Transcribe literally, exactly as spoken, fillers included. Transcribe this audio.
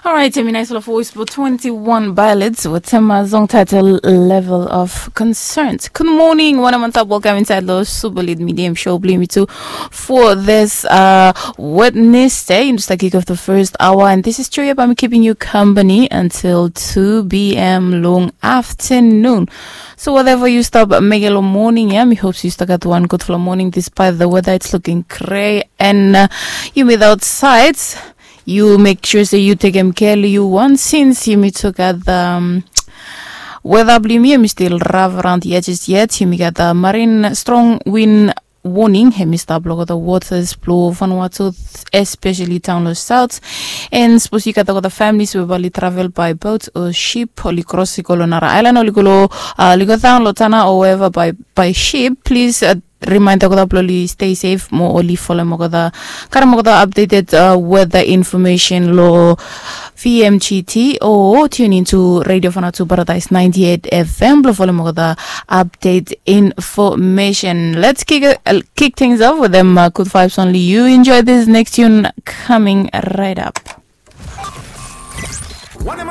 Alright, emi nais lo voice blong twenty-one pilots wetem a song title Level of Concerns. Good morning, wanem antap, welcome inside lo Super Lead Medium Show blong yumi tu for this uh, Wednesday. Yumi start kick off the first hour, and this is Trio. I'm keeping you company until two p.m. long afternoon. So whatever you stop making lo morning, yeah, mi hope you start got one good flow morning despite the weather. It's looking gray and uh, humid outside. Yu mek sua se yu tekem kea long yu wan, sins yumi tu gat weda blong yumi, yumi stil raf raon yet, yet yumi gat marin strong win warning hemi stap long olgeta waters blong Vanuatu, especially taon long south. And sapos yu gat olgeta families we bae oli travel by boat o ship, oli kros i go long nara aelan, oli go long uh, oli go taon long Tanna o wherever by, by ship, please uh, remind olgeta blong oli stay safe mo oli folem olgeta, karem olgeta updated uh, weather information lo V M G T o tune into Radio Vanuatu Paradise ninety-eight F M blong folem olgeta update information. Let's kick, uh, kick things off with them uh, good vibes only. You enjoy this next tune coming right up. Wanem